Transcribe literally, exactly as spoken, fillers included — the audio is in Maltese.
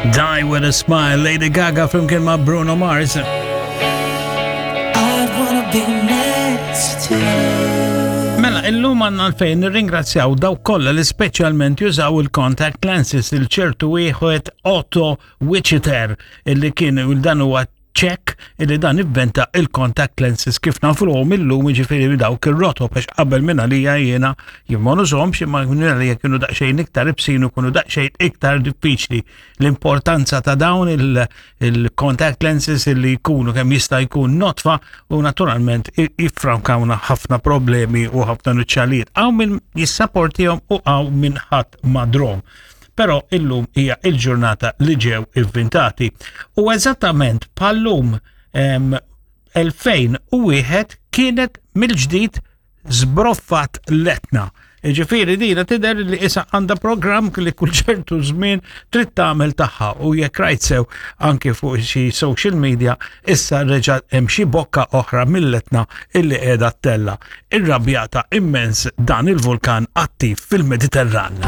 Die with a Smile, Lady Gaga flimkien ma' Bruno Mars. I'd wanna be next to you. Mela, illum għandna għalfejn nirringrazzjaw dawk kollha li speċjalment jużaw il-contact lenses, il-ċertu wieħed Otto Wichiter, illi kien dan huwa ċek illi dan ivventa il-contact lenses kif nafuhom illum, jiġifieri dawk ir-rotob, għax qabel minn għalija jiena jien ma nużahomx, imma minn għalija kienu daqsxejn iktar ibsin u kienu daqsxejn iktar diffiċli. L-importanza ta' dawn il-contact lenses illi jkunu kemm jista' jkun nodfa u naturalment jiffrankawna ħafna problemi u ħafna nuċċalijiet. Hawn min jissapportihom u hawn min ħadd ma drahom. Però illum hija il-ġurnata li ġew ivvintati. U eżattament bħal-lum elfejn u wieħed kienet mill-ġdid żbroffat l-Etna. Ġifieri dina tidher li issa għandha programm li kull ċertu żmien trid tagħmel tagħha, u jekk rajt sew anke fuq xi social media, issa reġa' hemm xi bokka oħra mill-Etna illi qiegħda ttella'. Irrabjata immens dan il-vulkan attiv fil-Mediterran.